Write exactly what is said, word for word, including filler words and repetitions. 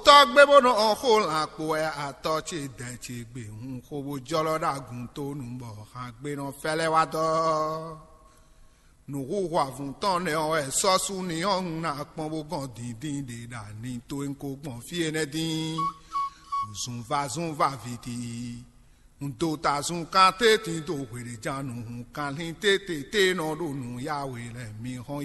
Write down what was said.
Tɔ́ gbé bó nɔ xó lan kpo wɛ atɔ́ ce dɛ ce gbe hun xó bó jɔlɔ ɖo agun tó nu bɔ han gbe nɔ fɛlɛ wá dɔ. Nǔxuxu avun tɔn nɛ ɔ́ wɛ sɔ́ sú ni ɔ́ un ná kpɔn bó gɔn dǐndín ɖe ɖo ani towe un ko gbɔn fí énɛ́ dín. Zunvazunva viti. Un dó ta zun kan tétin dó hweɖějánu hun kanlin tétété nɔ ɖo nǔ yá we lɛ́ɛ mi hɔn